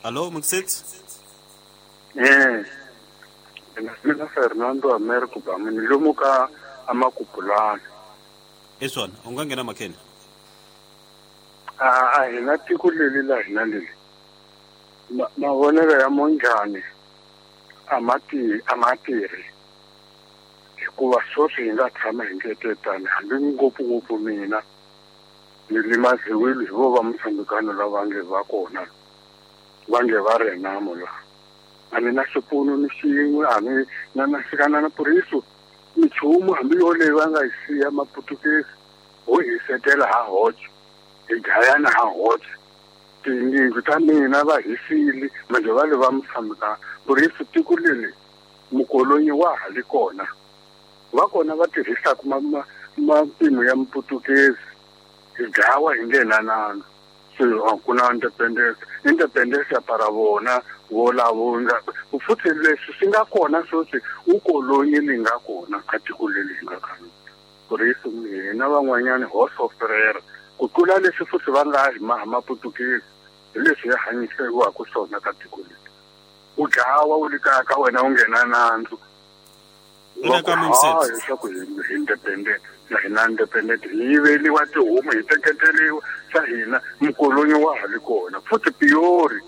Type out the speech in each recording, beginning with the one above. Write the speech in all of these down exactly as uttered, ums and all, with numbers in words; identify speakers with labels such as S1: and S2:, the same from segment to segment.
S1: Alo Mxit.
S2: Eh. Mina Fernando Americo ba mina lomu ka amakupulana.
S1: Eswana u nga nghena makheni.
S2: A a hina tiko leli la hina leli. Mavonelo ya Mondlane a ma ti a ma tirhi hikuva sweswi hi nga tshama hi ngetetani hambi ngopfungopfu mina ni limaziwile hi vo va mutshambikano lava nge va kona va nge va renamo la a ni na xipfuno ni xin'we a ni na na xikana na puriso minchumu hambi yoleyi va nga yi siya maputukezi ho hisetela ha hoxe hi dlayana ha hoxe tiyindlu ta mina va hisile manje va le va mutshambikano puriso tiko leli mukolonyi wa ha li kona va kona va tirhisaka mapimo ya muputukezi hi dlawa hi nge nandzu se a ku na independence independence ya para vona volavo nga futhi leswi swi nga kona sweswi ukolonyi li nga kona ka tiko leli hi nga ka rona puriso hina van'wanyani ho soferera ku tlula leswi futhi va nga hi maha maputukezi hi leswi hi hanyisiwaka swona ka tiko leri u dlawa u li kaya ka wena u nghena nandzu leswaku hi independent na hina independent hi yiveliwa tihomu hi teketeriwa swa hina mukolonyi wa ha li kona futhi piyori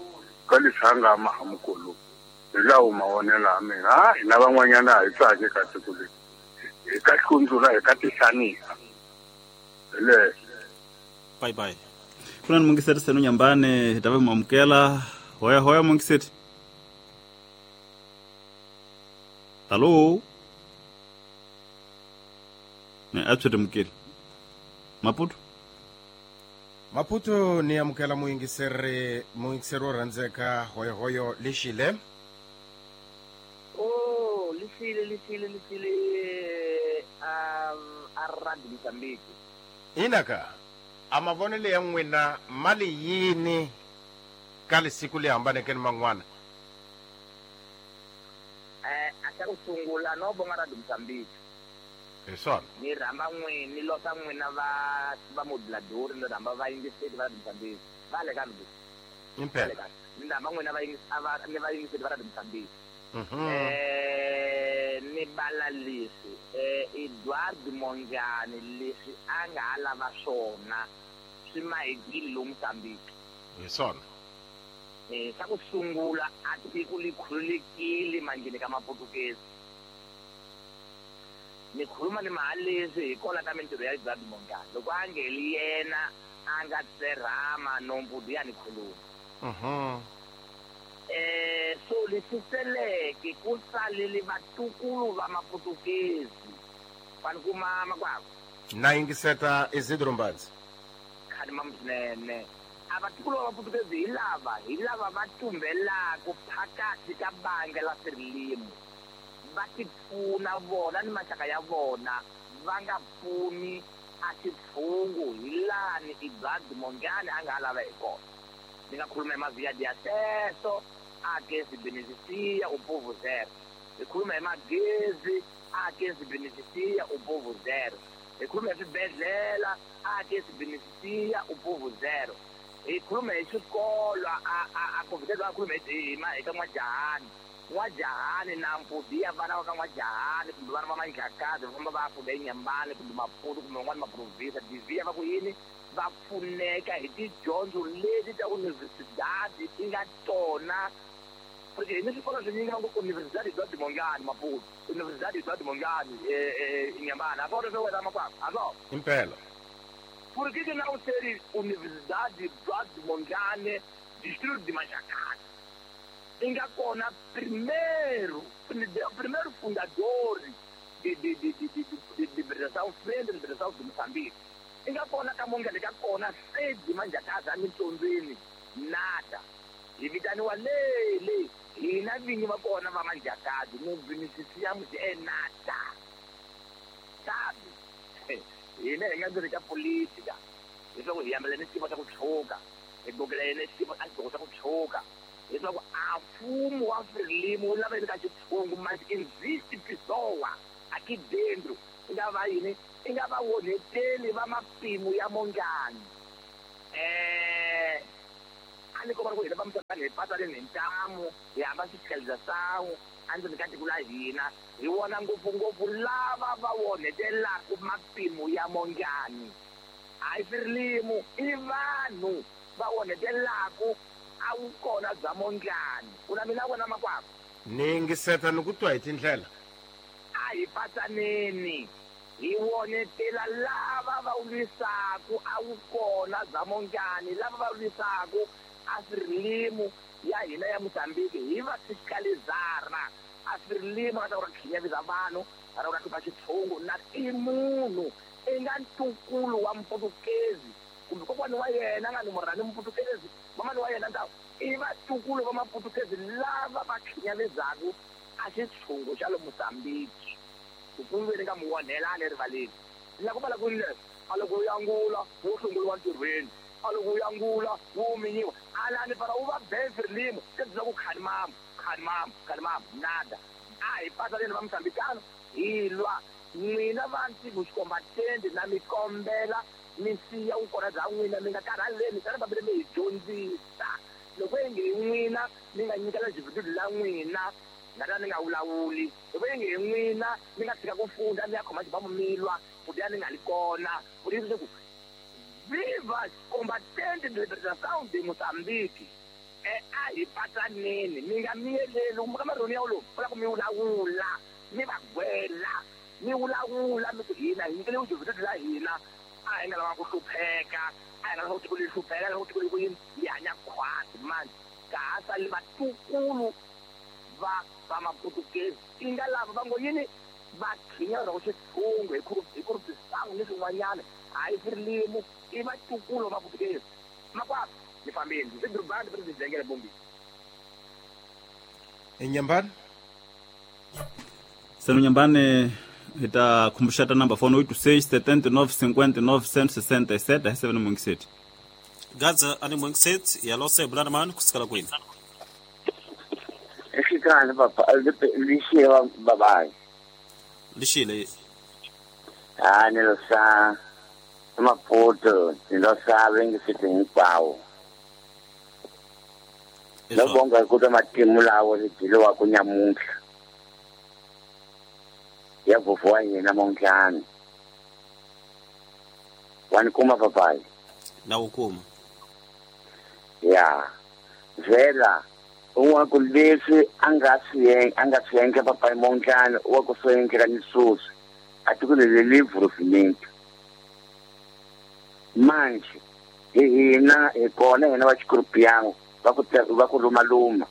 S2: ka leswi a nga maha mukolonyi hi lawo mavonelo ya mina a hina van'wanyana a hi tsaki ka tiko leri hi ka hlundzula hi ka tihlanisa hi leswo.
S1: Bye bye.
S3: Kuna ni Mungiseti Senu Nyambane hi ta va mu amukela. Hoya hoya Mungiseti. Hello. Ne a tswete mukeli. Maputo.
S4: Maputo ni amukela muyingiseri muyingiseri wo rhandzeka hoyo hoyo lexile.
S5: Oh, lexile lexile lexile um a rugby Mozambique.
S4: Inaka a mavonelo ya n'wina mali yini ka lesiku leyi hambaneke ni man'wana?
S5: Eh, a xa ku sungula no vonga Radio Mozambique.
S4: Hi swona.
S5: Ni rhamba n'wina ni lota n'wina va va moduladori ni rhamba vayingiseri va Radio Mozambique. Va le ka ni.
S4: Impela.
S5: Ni rhamba n'wina va va ni vayingiseri va Radio Mozambique.
S4: Mhm.
S5: Eh, ni bala leswi eh Edward Mondlane leswi a nga ha lava swona swi mahekile lomu Mozambique.
S4: Hi swona.
S5: Eh, xa ku sungula a tiko li khululekile manjheni ka maputukezi. Ni khuluma ni mahaleswi hi kona ka mintirho ya Edward Mondlane loko a ngeli yena a nga tserhama nombudu ya ni khuluma.
S4: Mhm.
S5: Eh, so leswi seleke ku salele vatukulu va maputukezi fani kuma makwavo.
S4: Na yingiseta Isidro Mbadzi.
S5: Khani mamswinene a vatukulu va maputukezi hi lava hi lava va tumbelaka phakathi ka banga la Frelimo va ti pfuna vona ni maxaka ya vona va nga pfuni a xitshungu hi lani Edward Mondlane a nga ha lava hi kona. Ni nga khuluma hi mavia de acesso a que se beneficia o povo zero. Hi khuluma hi magezi a que se beneficia o povo zero. Hi khuluma hi swibedhlele a que se beneficia o povo zero. Hi khuluma hi swikolo a a a ku a khuluma hi hi ka N'wajahani. N'wajahani na Mpudi ya vana va ka N'wajahani kumbe vana va Manjakazi va famba va ya funda eNyambane kumbe Maputo kumbe van'wani maprovinsa divhiya va ku yini va pfuneka hi tidyondzo leti ta universidade ti nga tona. Porque ni swikolo swinyingi va ngo Universidade Eduardo Mondlane Maputo, Universidade Eduardo Mondlane eh Nyambane. A swona swo wena makwavo a swona.
S4: Impela.
S5: Por que que não ser Universidade Eduardo Mondlane Distrito de Manjakazi? Nga kona primeiro primeiro fundador de de de de de de libertação frente de libertação de Moçambique. Nga kona ka Mondlane ka kona sede Manjakazi a mintsondzweni nada. Hi vitaniwa le le hina vinyi va kona va Manjakazi no beneficiamos é nada. Sabe? Hina hi nga ndzeni ka politika leswaku hi yambela ni xiyimo xa ku tshuka hi gokela yena xiyimo a xigoko xa ku tshuka leswaku a mfumo wa Frelimo wu lava yini ka xitshungu mas existe pessoa aqui dentro i nga va yini i nga va onheteli va mapimo ya Mondlane. Eh, a A ni komba ku hina va Mozambiki hi patsaleni hi ntamu hi hamba xikhelisa endzeni ka tiko la hina hi vona ngopfungopfu lava va onhetelaka mapimo ya Mondlani. Hayi Frelimo i vanhu va onhetelaka a vukona bya Mondlani. Ku na mina vona makwavo
S4: ni yingiseta ni ku twa hi tindlela.
S5: A hi patsaneni hi wonetela lava va lwisaku a vukona bya Mondlani, lava va lwisaku a Frelimo ya hina ya Mozambique hi va fiscalizara. A Frelimo a ta ku khinyavisa vanhu a ta ku hlupha xitshungu na i munhu i nga ntukulu wa Mputukezi kumbe kokwani wa yena nga ni murhani Mputukezi mamani wa yena nta i vatukulu va Maputukezi lava va khinyavizaku a xitshungu xa le Mozambique. Ku kumbe ka muonhelani erivaleni la ku vala ku leswi a loko u yangula wo hlongoriwa ntirhweni, a loko u yangula wo minyiwa alani para u va be Frelimo se byi ku khani mama khani mama khani mama nada. A hi patsaleni va Mozambikano hi lwa n'wina va ntivo xikombatende na mi kombela mi siya vukona bya n'wina mi nga karhaleni tani va mi hi dyondzisa. Loko yi nge hi n'wina mi nga nyikela jividudu la n'wina nga ta ni nga vulavuli, loko yi nge hi n'wina mi nga tshika ku funda mi ya khoma xibamu mi lwa ku ya ni nga li kona ku leswaku viva combatente de libertação de Mozambique. E a hi patsaneni mi nga miyeleli ka marhoni ya wolowo va lava ku mi vulavula mi va gwela mi vulavula mi ku hina hi nyikele vujividudu la hina a hi nga lava ku hlupheka a hi nga lava ku tiko leri hlupheka a hi lava ku tiko leri ku yini hi hanya khwati mani ka ha sali vatukulu va va Maputukezi i nga lava va ngo yini va khinya ku xitshungu hi hi kurhupisangu ni swin'wanyana. Hayi Frelimo i vatukulu va Maputukezi. Makwavo ni fambile ndzi durubani president Bombi
S4: Enyambani
S3: Senu Nyambani hi ta khumbuxata number phone oito seis setenta e nove cinquenta e nove cento e sessenta e sete a seven mungiseti.
S1: Gaza ani mungiseti ya lose bulana man kusikala kwini.
S6: Exikhale papa lixile babayi.
S1: Lixile.
S6: Ah ni lo sa Maputo ni lo sa vengiseti hinkwawo. No bonga ku ta matimu lawo lidiliwa ku nyamuntlha. Ya vufu wa hina Mondlani. Wa ni kuma papayi?
S1: Na wu kuma.
S6: Ya. Vela un'wana ku leswi a nga swi a nga swi endla papayi Mondlani wa ku swi endlela ni sweswi a tiko leri li improvement. Manje hi hina hi kona hina va xikurupiyango va ku va ku lumaluma.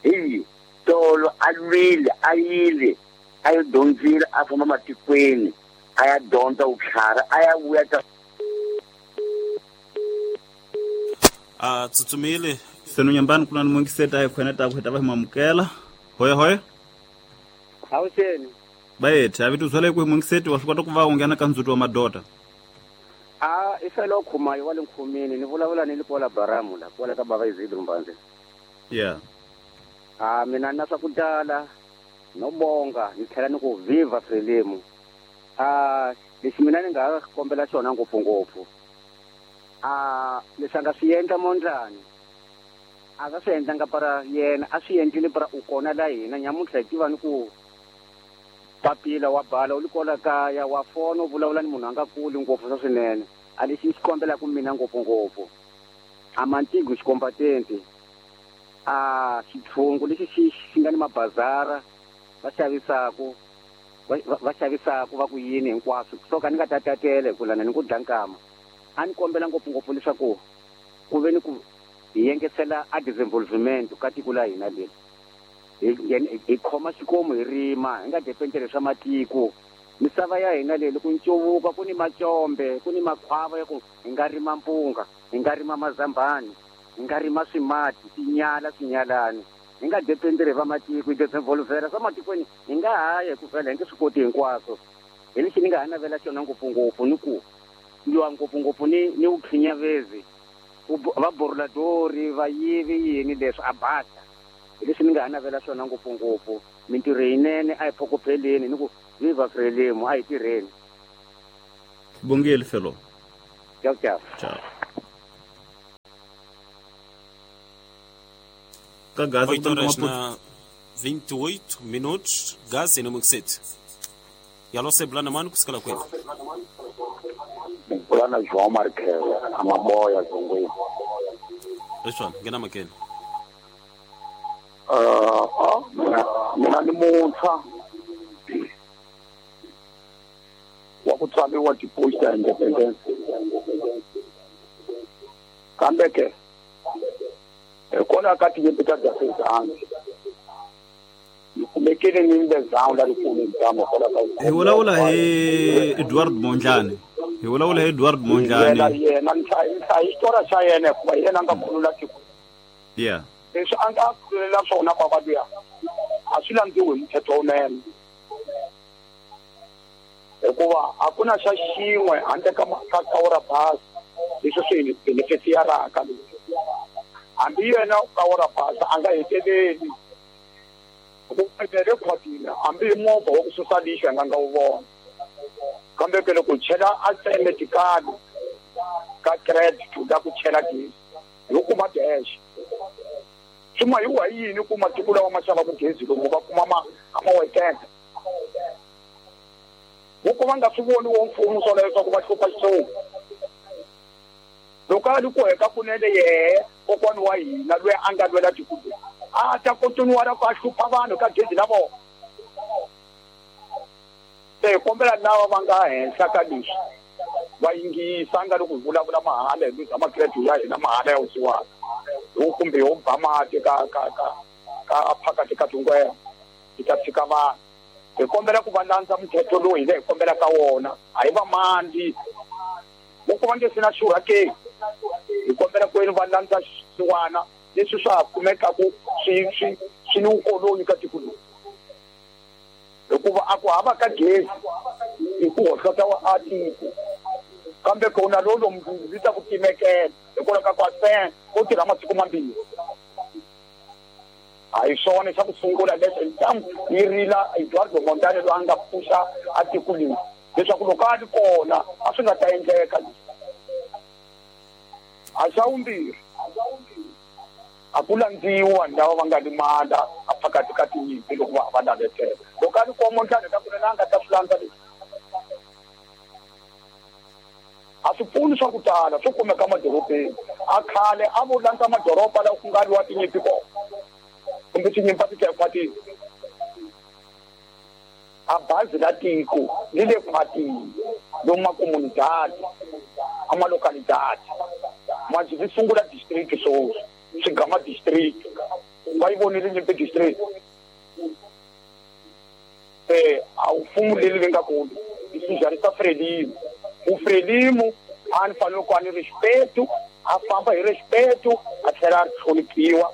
S6: Hi tolo a lwile a yile a yo dyondzile a famba matikweni a ya dyondza vutlhari a ya vuya ta
S1: a tsutsumile.
S3: Senu Nyambani ku na ni mungiseti a hi khwene ta ku hi ta va hi mamukela. Hoya hoya.
S7: Awuseni.
S3: Bayethe a vito zwale ku hi mungiseti wa swi kota ku va u nghena ka ndzuti wa madoda.
S7: A i felo khumayo wa le nkhumini ni vulavula ni Lipola Baramu la kwala ka baba Izidro Mbanze.
S3: Yeah.
S7: Ah mina na swa ku tala no bonga ni tlhela ni ku viva Frelimo. Ah lexi mina ni nga kombela xona ngopfungopfu. Ah leswi a nga swi endla Mondlani a nga swi endlanga para yena a swi endlile para u kona la hina nyamuntlha hi tiva ni ku papila wa bala u li kola kaya wa fona u vulavula ni munhu a nga kuli ngopfu swa swinene a lexi ni xi kombelaka mina ngopfungopfu a mantigo xikombatente a xitshungu lexi xi xi nga ni mabazara va xavisaku va xavisaku va ku yini hinkwaswo so ka ni nga ta tatele ku lana ni ku dla nkama a ni kombela ngopfungopfu leswaku ku ve ni ku hi yengesela a disinvolvement ka tiko la hina leri hi hi khoma xikomu hi rima hi nga dependele swa matiko misava ya hina leyi loko ncuvuka ku ni macombe ku ni makhwava ya ku hi nga rima mpunga hi nga rima mazambani hi nga rima swimati tinyala swinyalani hi nga dependele va matiko hi disinvolvera swa matikweni hi nga haya hi ku vhela hi nge swi koti hinkwaswo hi lexi ni nga ha navela xona ngopfungopfu ni ku lwa ngopfungopfu ni ni vukhinyavezi va boruladori va yivi yini leswi a basa hi leswi ni nga ha navela swona ngopfungopfu mintirho yinene a hi phokopheleni ni ku viva Frelimo a hi tirheni.
S3: Bongile felo.
S7: Ciao ciao.
S3: Ciao. Ka Gaza
S1: oito horas na vinte e oito minutos, Gaza no sete. E alô Sebulana mano kusikala kwetu.
S6: Bulana João Marques, amaboya zongwe.
S1: João, ngena makene.
S6: Ah, ah, mina ni muntshwa wa ku tswariwa tiposta independence. Kambe ke hikwalaho ka tinyimpi ta Gaza ni kumekile ni ndzawu la rikulu ntamu hikwalaho ka
S3: hi vulavula hi Edward Mondlane hi vulavula hi Edward Mondlane
S6: yena ni hlaya xitori xa yena hikuva hi yena a nga khulula tiko
S3: yeah
S6: leswi a nga khululela swona baba luya a swi landziwi hi muthetho wunene hikuva a ku na xa xin'we handle ka ka kawura bazi leswi swi benefitiyaraka hambi yena kawura bazi a nga heteleli ku rekhodiwa hambi hi movha wa ku susa lixo a nga nga wu vona kambe ke loko chela a tseme tikali ka credit la ku chela gezi yo kuma dash swi hi wa yini ku matiko lawa ma xavaka gezi lomu va kuma ma a ma wekenda vo ku va nga swi voni wo mfumo swo leswaku va hlupha xitsongo loko a ri ku heka kunene yehe kokwani wa hina loyi a nga lwela tiko a ta kontinuwa ku a hlupha vanhu ka gezi la vona se hi kombela lava va nga henhla ka leswi va yingisa nga loko hi vulavula mahala hi luza makiredi ya hina mahala ya wusiwana hi kumbe yo ba mati ka ka ka ka phakati ka tingwena hi ta tshika vanhu hi kombela ku va landza muthetho lowu hina hi kombela ka wona a hi va mandi loko va nge se na xurha ke hi kombela ku yini va landza xisiwana leswi swa ha kumekaku swi swi swi ni vukoloni ka tiko lowu hikuva a ku hava ka gezi hi ku hohlota wa a tiko kambe ku na lolo mundzuku ta ku timekela hikwalaho ka ku a ko tirha masiku mambirhi a hi swona xa ku sungula leswi ntangu yi rila Eduardo Mondlane loyi a nga pfuxa a tiko leri leswaku loko a ri kona a swi nga ta endleka a xa vumbirhi a ku landziwi vanhu lava va nga limala a phakati ka tinyimpi loko va va navetela loko a ri kona Mondlane ka kunene a nga ta swi landza leswi a swi pfuni swa ku tala swo kumeka madorobeni a khale a vo landza madoroba lawa ku nga lwiwa tinyimpi kona kumbe tinyimpi a ti ta ekhwatini a bazi la tiko li le khwatini lomu makomunidadi a malocalidade manje vi sungula district swoswi swigama district va yi vonile nyimpi district se a wu fumu leri vi nga kulu i swijarisa Frelimo u Frelimo a ni fanele ku a ni respeto a famba hi respeto a tlhela a ri hloniphiwa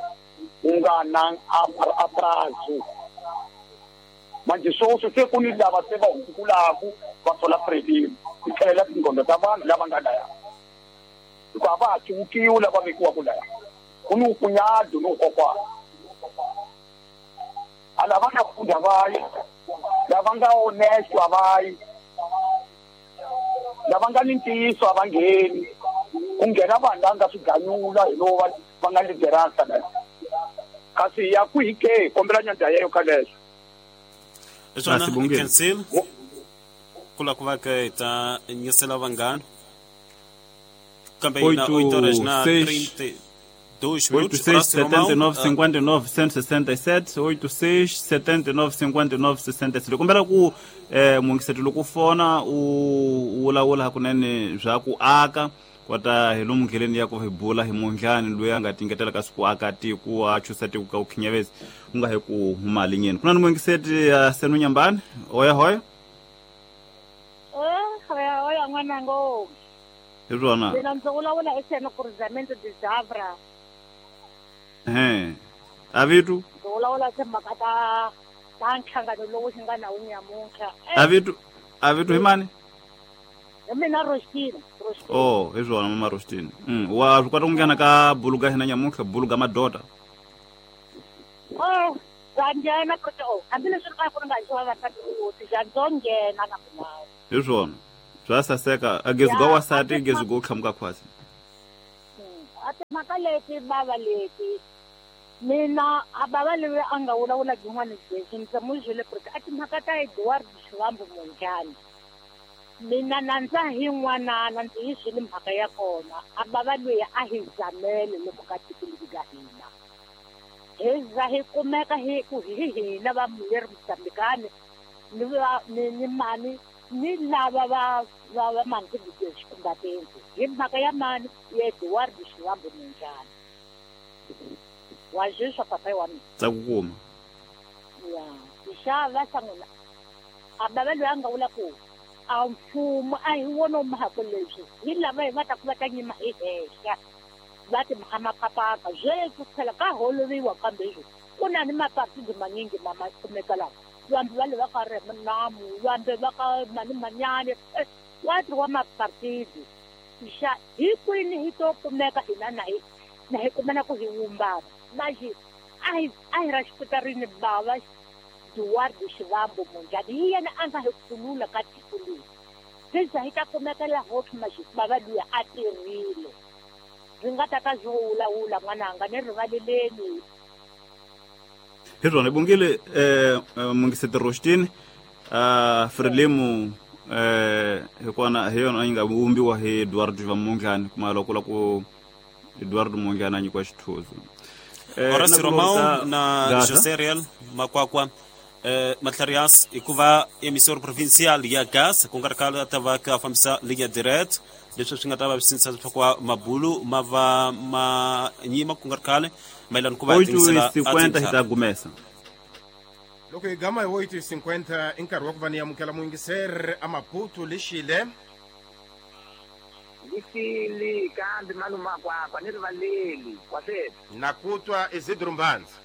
S6: ku nga na a prazo manje swoswi se ku ni lava se va hundzukulaku va sola Frelimo ti tlhelela tinghondo ta vanhu lava nga laya hikuva a va ha civukiwi lava vekiwaka laya ku ni wukunyado ni wukokwana a lava nga funda va yi lava nga honesto a va yi lava nga ni ntiyiso a va ngheni ku nghena vanhu lava nga swiganyula hi lowu va va nga lideransa la kasi ya kwihi ke kombela nyandza yeyo ka leswo
S1: Swona cancel kula ku va ke ta nyisela vanghana kambe na oito horas na trinta e dois minutos
S3: oito seis setenta e nove cinquenta e nove cento e sessenta e sete oito seis setenta e nove cinquenta e nove sessenta e sete kombela ku eh mungiseto loko fona u vulavula hakunene bya ku aka kota hi lomu ndleleni ya ku hi bula hi Mondlane loyi a nga tingetela ka siku aka tiko a chusa tiko ka ukhinyavezi u nga hi ku huma linyeni kuna ni mungiseti ya Senu Nyambani oya hoya
S8: eh hoya hoya n'wanango
S3: hi rona
S8: mina ndzi vulavula eseno cruzamento de Zavra
S3: eh avitu
S8: ndzi vulavula timhaka ta ta nhlangano lowu xi nga na wu nyamuntlha
S3: avitu avitu hi mani
S8: hi mina Rostina Rostina
S3: oh hi swona mama Rostina mm wa swi kota ku nghena ka buluga hina nyamuntlha buluga madota
S8: oh bya nghena kote oh hambileswi ri ka ku ri nga xi vavasati kuti bya ndzo nghena na milawu
S3: hi swona bya saseka a gezi ga wasati gezi go tlhamuka khwasi
S8: a timhaka leti bava leti Mina a baba leyi a nga vulavula byin'wana byeswi ndzi mu byele ku ri a timhaka ta Eduardo Shivambu Mondlane. Mina nandza hi n'wanana ndzi yi byele mhaka ya kona a baba loyi a hi zamele loko ka tiko leri ka hina. Hi za hi kumeka hi ku hi hina va muleri Mozambikani ni va ni ni mani ni lava va va va mani xikumbateni hi mhaka ya mani ya Eduardo Shivambu Mondlane. Wa zwiswa papa wa mina.
S3: Ndza ku kuma.
S8: Ya, xava sangula. A baba loyi a nga vula ku a mfumo a hi wona mhaka leswi hi lava hi va ta ku va ta nyima hi henhla va ti mapapapa sweswi phela ka holoviwa kambe leswi ku na ni mapartido manyingi ma ma kumeka laha vambe va le va ka Renamu vambe va ka mani manyane wa ti wa mapartido xa hi kwini hi to kumeka hina na hi na hi kumana ku hi wumbana maji a hi a hi ra xiputarini bava Eduardo Shivambu Mondlane hi yena a nga hi khulula ka tiko leri se hi ta kumeka laha hope maji bava luya a tirhile ndzi nga ta ka byo wulawula n'wananga ni rivaleleni.
S3: Hi rona bongile eh mungiseti Roshtini a Frelimo eh hikona hi yona yi nga vumbiwa hi Eduardo Shivambu Mondlane kuma loko la ku Eduardo Mondlane a nyikiwa xithuzo.
S1: Horacio Romão na José Real Makwakwa eh Matlarias hikuva emissor provincial ya gas ku nga ri khale a ta va ka fambisa linha direct leswi swi nga ta va swi sindzisa leswaku mabulu ma va ma nyima ku nga ri khale mayelana ku va
S3: tingisela cinquenta hi ta gumesa.
S4: Loko hi gama hi oito e cinquenta i nkarhi wa ku va ni amukela muyingiseri a Maputo lexile.
S5: Lixile kambe malume Makwakwa ni rivaleli wa sweswi.
S4: Na ku twa Isidro Mbanza.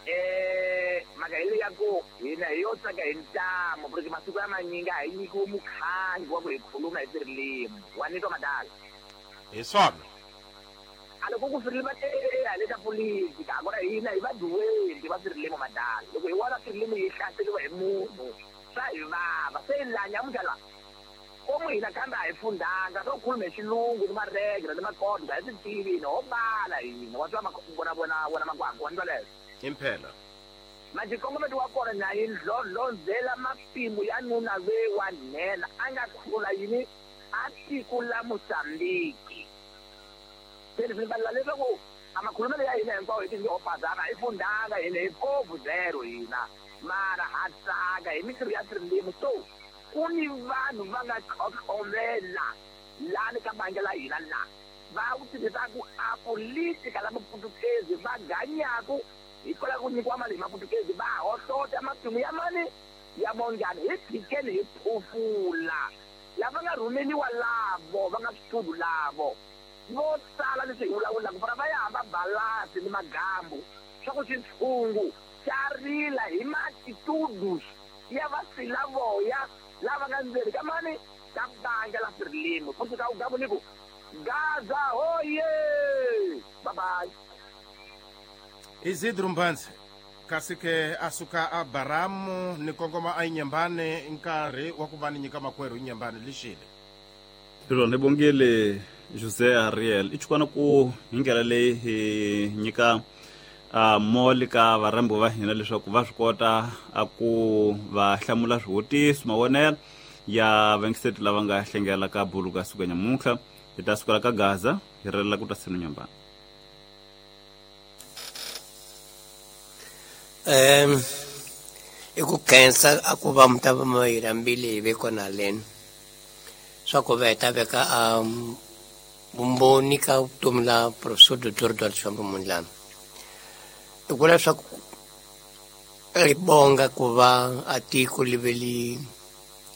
S5: Eh mhaka hi leyi ya ku hina hi yo tsaka hi ntamu porque masiku ya manyingi a hi nyikiwi mukhangi wa ku hi khuluma hi tirilimu wa ni twa madala.
S4: Hi swona.
S5: A loko ku Frelimo va le ka politika a kona hina hi vaduweli va Frelimo madala loko hi vona Frelimo yi hlaseriwa hi munhu swa hi vava se hi laha nyamuntlha laha komu hina kambe a hi fundanga swo khuluma hi xilungu ni maregla ni makodo a hi swi tivi hina ho bala hina wa twa vona vona vona Makwakwa wa ni twa leswo.
S4: Impela.
S5: Manje nkongometo wa kona na yi ndlondlondzela mapimo ya nuna ve wa nhenha a nga khulula yini a tiko la Mozambiki. Se leswi ni leswaku a makhulumelo ya hina hinkwawo hi ti ho phazana hi fundanga hina hi povu zero hina mara ha tsaka hi mintirho ya Frelimo so ku ni vanhu va nga tlhotlhomela lani ka bangi la hina la va ku tirhisaku a politika la maputukezi va ganyaku hikwalaho ku nyikiwa mali hi maputukezi va hohlota matimu ya mani ya Mondlane hi tshikeni hi phufula lava nga rhumeliwa lavo va nga switudu lavo vo tala leswi hi vulavulaka vona va ya hamba balasi ni magambu swa ku xitshungu xa rila hi matitudus ya vasilavoya lava nga ndzeni ka mani ka bangi la Frelimo futhi ka ugamu ni ku Gaza hoye bye bye.
S4: Isidro Mbanza kasi ke a suka a Baramu ni kongoma a Inyambane nkarhi wa ku va ni nyika makwerhu Inyambane lexile.
S3: Rona bongile José Ariel i chukwana ku hi ndlela leyi hi nyika a moli ka varhambi va hina leswaku va swi kota a ku va hlamula swivutiso mavonelo ya vangiseti lava nga hlengela ka bulu ka siku nyamuntlha hi ta sukela ka Gaza hi relela ku ta senu Nyambane.
S9: Um i ku khensa a ku va mi ta va mi hi rhambile hi ve kona leni swa ku va hi ta veka a vumbhoni ka vutomi la Professor Doctor Eduardo Shivambu Mondlane. I ku leswaku ri bonga ku va a tiko li ve li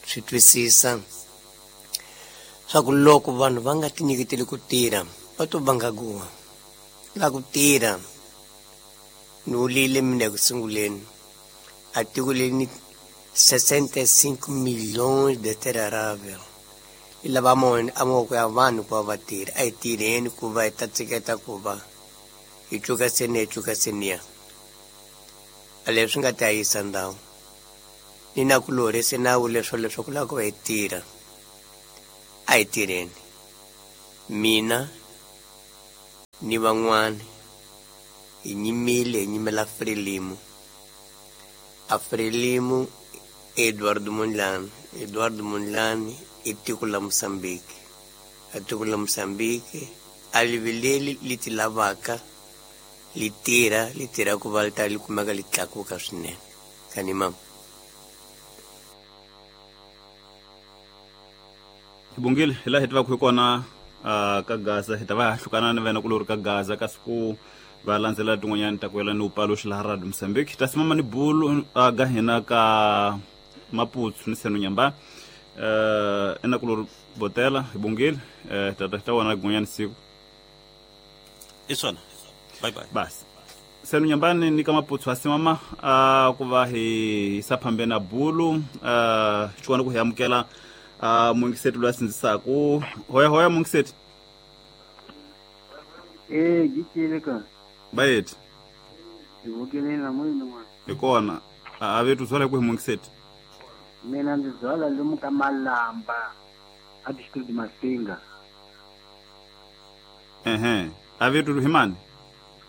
S9: swi twisisa swa ku loko vanhu va nga tinyiketeli ku tirha va to vanga guwa la ku tirha ni wulile mina eku sunguleni a tiko leri ni sessenta e cinco milhões de terra arável yi lava a mavoko ya vanhu ku va va tirha a hi tirheni ku va hi ta tshiketa ku va hi cuka seniya hi cuka seniya a leswi nga ta yisa ndhawu ni na ku lorhise nawu leswo leswaku lava ku va hi tirha a hi tirheni mina ni van'wani Hi nyimile hi nyimela Frelimo. A Frelimo Eduardo Mondlane. Eduardo Mondlane i tiko la Mozambique. A tiko la Mozambique a liveleli li ti lavaka li tirha li tirha ku va li ta li kumeka li tlakuka swinene. Kani mama.
S3: Bongile hi laha hi tivaka hi kona ka Gaza hi ta va hlukana ni vena kulori ka Gaza kasi ku va landzela tin'wanyani ta ku yela ni upaluxi laha Radio Mozambique ta simama ni bulu ga hina ka Maputo ni Seno Nyamba eh ena kulori botela hi bongile eh tata ta wona gun'wanyani siku
S1: i swona bye bye
S3: basi Seno Nyambani ni ka Maputo asimama ku va hi sa phambena bulu eh xikwana ku hi amukela a mungiseti lwa sindzisaku hoya hoya mungiseti
S10: eh gitile ka
S3: bayet
S10: ivukile na moyini mwana
S3: ikona a vetu zwala ku mungiseti
S10: mina ndzi zwala lomu ka Malamba a district Masinga
S3: ehe a vetu himani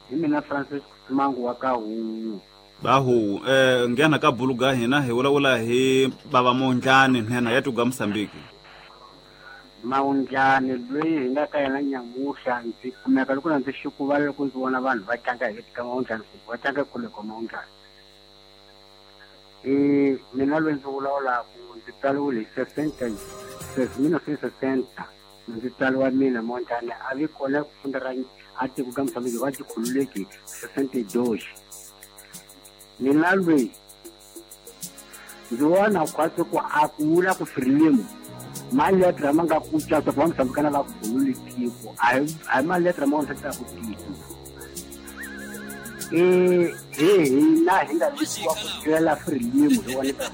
S10: hi mina Francis Mangu wa ka Huwu
S3: bahu eh ngena ka buluga hina hi vulavula hi baba Mondlane nhenha ya tuga Mozambique
S10: Mondlane loyi hi nga ka yena nyamuhla ndzi kumeka loko na ndzi xikuva loko ndzi vona vanhu va tlanga hi ka Mondlane va tlanga kule ka Mondlane eh mina loyi ndzi vulavulaka ndzi tsariwile hi sesenta mil novecentos e sessenta ndzi tsariwa mina Mondlane a vi kona ku funda ra a tiko ka Mozambique va tikhululeki sessenta e dois mina loyi ndzi vona khwatsi ku a ku vula ku Frelimo maletra ma nga ku caca ku va Mozambikana va khulule tiko a hi a hi maletra ma vonisa ku tiko eh he hina hi nga vikiwa ku tirhela Frelimo hi vona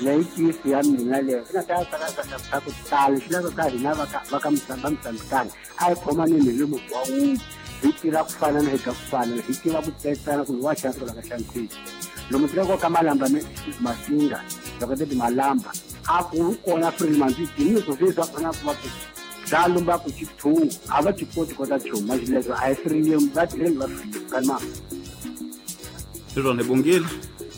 S10: leyi tisi ya mina leyo swi nga ta tsaka ku tala swi lava ka hina va ka va ka Mozambikana a hi khomaneni hi lomu wa wun'we hi tirha ku fana na hi ka ku fana hi tiva ku tsetsana ku wa xantswa la ka xantsweki lomu tirhaka ka Malamba Masinga loko ti Malamba a ku kona Frelimo ndzi dini swo swi kona ku va ku dza lumba ku chithungu a va ti koti kota chuma xileswo a hi Frelimo va tirheli va Frelimo kanma
S3: swona hi bongile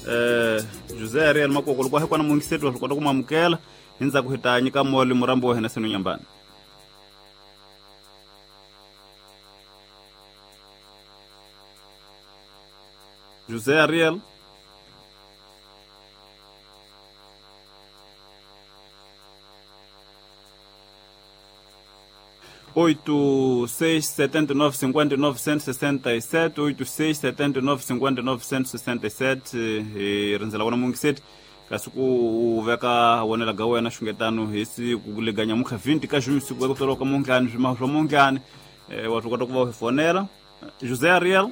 S3: eh José Ariel Makoko loko hi kona mungiseti wa swi kota ku mamukela hi ndzhaku hi ta nyika moli murambo wa hina Seno Nyambani José Ariel oito seis setenta e nove cinquenta e nove cento e sessenta e sete oito seis setenta e nove cinquenta e nove cento e sessenta e sete hi rindzela wona mungiseti kasi ku u veka wonela ga wena xungetano hi siku leganya mukha vinte ka junho siku ku tswariwa ka Mondlane swimaho swa Mondlane wa swi kota ku va u hi fonela José Ariel.